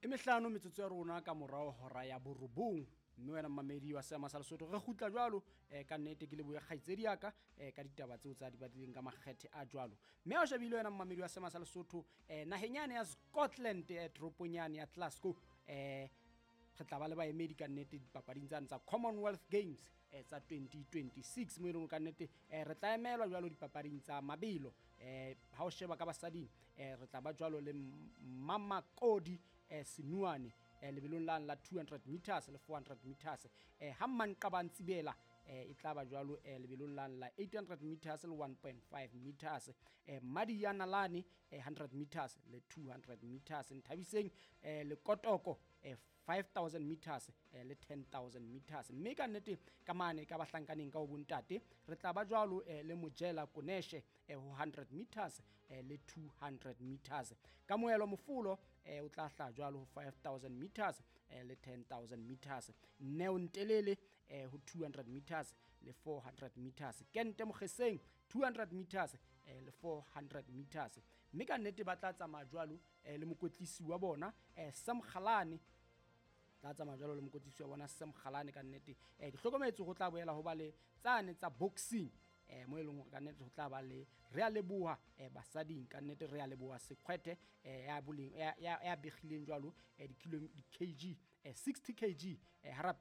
E mehlano metsotso ya rona ka morao hora ya borobong, mme wena mmamedi wa Seema sa Lesotho, re kgutla jwalo. Ka nnete ke lebohe kgaitsedi ya ka ka ditaba tseo tsa di badileng ka makgethe a jwalo. Mme ha o shebile, wena mmamedi wa Seema sa Lesotho, naheng yane ya Scotland, toropong yane ya Glasgow, re tla ba le baemedi ka nnete dipapading tsane tsa Commonwealth Games tsa 2026, mo e leng ka nnete re tla emelwa jwalo dipapading tsa mabelo. Ha o sheba ka basading, re tla ba jwalo le Mamakodi Senuane lebelong la 200 meters le 400 meters. Ha Mmanqabang Tsibela e tla ba jwalo lebelong la 800 meters le 1.5 meters. Madiana Lane, 100 meters le 200 meters. Nthabiseng Lekotoko, 5000 meters le 10,000 meters. Mme ka nnete ka mane ka bahlankaneng ka ho bontate, re tla ba jwalo le Mojela Koneshe ho 100 meters le 200 meters. Ka Moelo Mofolo o tla hla jwalo ho 5000 meters le 10,000 meters. Neo Ntelele ho 200 meters le 400 meters. Kente Mokgeseng, 200 meters le 400 meters. Mme ka nnete ba tla tsamaya jwalo le mokwetlisi wa bona, Sam Kgalane. Tla tsamaya jwalo le mokwetlisi wa bona, Sam Kgalane. Ka nnete ke hlokometse ho tla boela ho ba le tsane tsa boxing, mo e leng hore ka nnete ho tla ba le re a leboha basading. Ka nnete re a leboha Sekhwete ya boleng ya begileng jwalo di-kilo, di-kg, 60 kg ha rapela.